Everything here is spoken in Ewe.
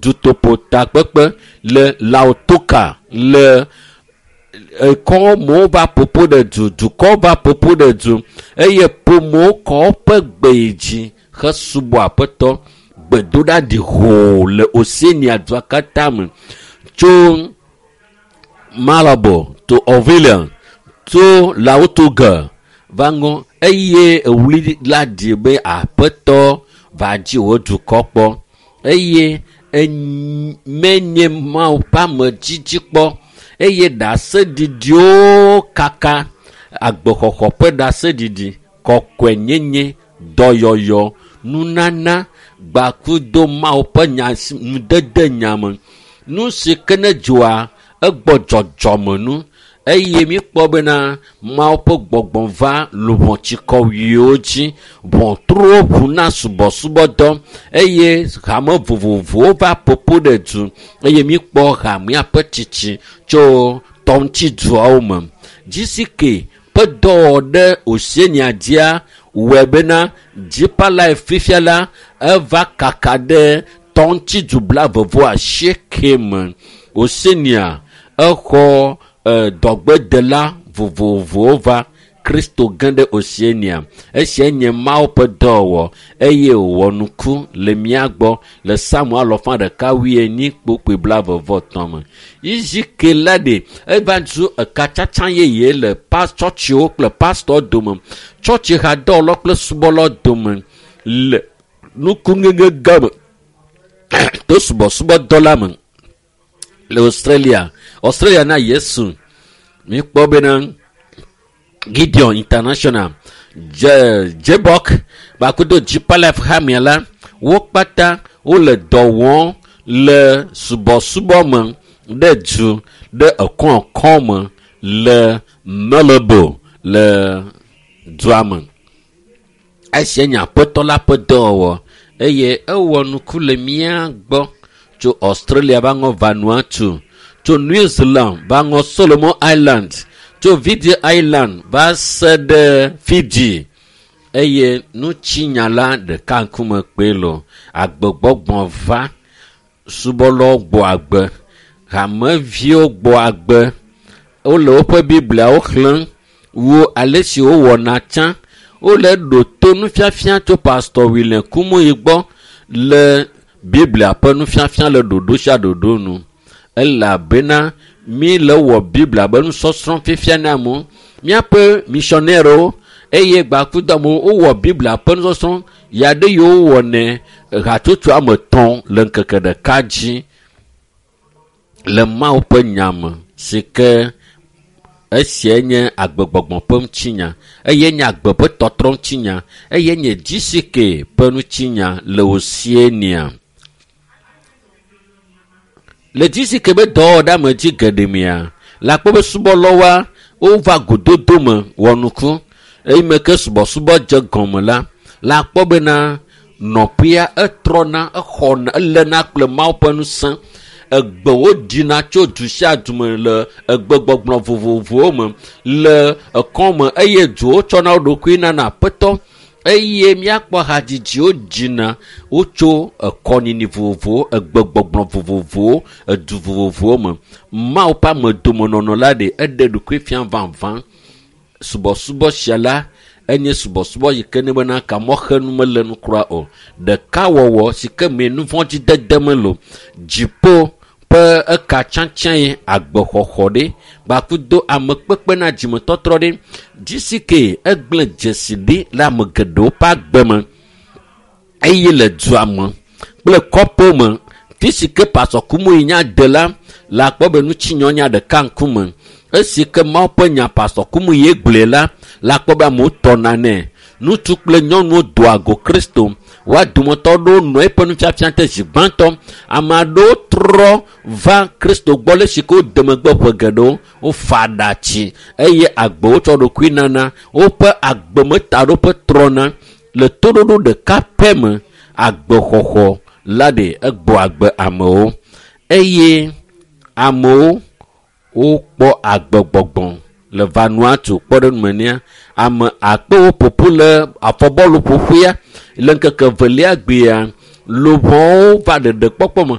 Dutoƒo takpekpe le Lautoka le ekɔmewo va ƒoƒo ɖe du, dukɔwo va ƒoƒo ɖe du eye ƒomewo kɔ woƒe gbe yi dzi hesubɔ Aƒetɔ. Gbedoɖa ɖi hoo le Oceania dua katã me tso Malabo to Orvilliers tso Lautoka va ŋɔ eye ewli la ɖi be Aƒetɔ va dzi wò dukɔ kpɔ eye menye Mawu ƒe amedzidzi kpɔ eye ɖaseɖiɖiwo kaka agbexɔxɔ ƒe ɖaseɖiɖi, kɔkɔenyenye, dɔyɔyɔ, nunana, gbakudo Mawu ƒe nya nudede nya me. Nu si ke ne dzɔa egbɔ dzɔdzɔme nu eye míkpɔ bena Mawu ƒe gbɔgbɔ va luʋɔtsikɔwuiwo dzi, ʋɔtruwo ʋu na subɔsubɔdɔ eye hame vovovowo va ƒoƒo ɖe du eye míkpɔ hamea ƒe tsitsi tso tɔŋutiduawo me. GCK ƒe dɔwɔwɔ ɖe Oceania dzia wɔe bena Deeper Life fifia la eva kaka ɖe tɔŋutidu 89 me. Oceania exɔ dɔgbedela vovovowo va Kristo ge ɖe Oceania. Esia nye Mawu ƒe dɔwɔwɔ eye wòwɔ nuku le mía gbɔ le Psalm 144:23 me. GCK la ɖe eva zu ekatsatsa yeye le tsɔtsiwo kple pastɔ dome, tsɔtsi hadɔwɔlawo kple subɔlawo dome le nukuŋeŋe gã me to subɔsubɔdɔ la me le Australia. Australia na Yesu. Míkpɔ bena Gideon International, Jebok kpakple Deeper Life hamea la, wo kpata wole dɔ wɔm le subɔsubɔ me ɖe du ɖe ekɔkɔ me le Melbourne le dua me. Esia nye Aƒetɔ la ƒe dɔwɔwɔ eye ewɔ nuku le mía gbɔ tso Australia va ŋɔ Vanuatu, tso New Zealand va ŋɔ Solomon Island, tso Fiji Island va se ɖe Fiji eye nutsinya la ɖeka ŋkume kpee lo. Agbegbɔgbɔ va, subɔlawo gbɔ agbe, hameviwo gbɔ agbe, wole woƒe Bibliawo xlẽm wu ale si wowɔna tsã. Wole ɖo to nufiafia tso Pastor William Kumuyi gbɔ le Biblia ƒe nufiafia le ɖoɖo sia ɖoɖo nu. Elabena mi le wɔ Biblia be nusɔsrɔ̃ fifia na amewo. Míaƒe missionnaires eye gbakudo amewo wowɔ Biblia ƒe nusɔsrɔ̃ ya ɖe yiwo wɔnɛ hatsotso ame etɔ̃ le ŋkeke ɖeka dzi le Mawu ƒe nya me si ke esia nye agbegbɔgbɔ ƒe ŋutinya eye nye agbe ƒe tɔtrɔ ŋutinya eye nye GCK ƒe ŋutinya le Oceania. Le GCK be dɔwɔɖeamedzi geɖe mea, le akpɔ be subɔlawoa wova gododo me wɔ nuku eye me ke subɔsubɔ dze gɔme la, le akpɔ bena nɔƒea etrɔna, exɔna, eléna kple Mawu ƒe ŋusẽ. Egbewo ɖina tso du sia du me le egbegbɔgblɔ vovovowo me le ekɔme eye duwo tsɔna wo ɖokui nana Aƒetɔ eye míakpɔ hadzidziwo dzina wotso ekɔnini vovovowo, egbegbɔgblɔ vovovowo, edu vovovowo me. Mawu ƒe amedomenɔnɔ la ɖe eɖe ɖokui fia vavã. Subɔsubɔ sia la enye subɔsubɔ yi ke ne bena ka mɔxenu mele nu kura o. Ɖekawɔwɔ si ke me nuvɔ̃dzidede mele o. Dziƒo ƒe eka tsãtsã ye agbexɔxɔ ɖe gbakudo amekpekpe na dzimetɔtrɔ ɖe. GCK egblẽ dzesi ɖi le ame geɖewo ƒe agbe me eye le dua me kple kɔƒewo me. Fi si ke Pastor Kumuyi nya de la, le akpɔ be nutsinyɔnya ɖeka ŋkume. Esi ke Mawu ƒe nya Pastor Kumuyi gblɔe la, le akpɔ be amewo tɔna nɛ. Ŋutsu kple nyɔnuwo doa go Kristo. Woa dometɔ aɖewo nɔ eƒe nufiafia te zi gbãtɔ. Ame aɖewo trɔ va Kristo gbɔ le esi ke wode megbe ƒe geɖewo. Wofa aɖatsi eye agbewo tsɔ ɖokui nana. Woƒe agbemetaɖoƒe trɔna le toɖoɖo ɖeka pɛ me. Agbexɔxɔ la ɖe egbɔ agbe amewo eye amewo wokpɔ agbegbɔgbɔ le Vanuatu kpɔ ɖe numenia. Ame akpewo ƒoƒu le afɔbɔlu ƒoƒea le ŋkeke evelia gbea. Luʋɔwo va ɖeɖekpɔkpɔ me.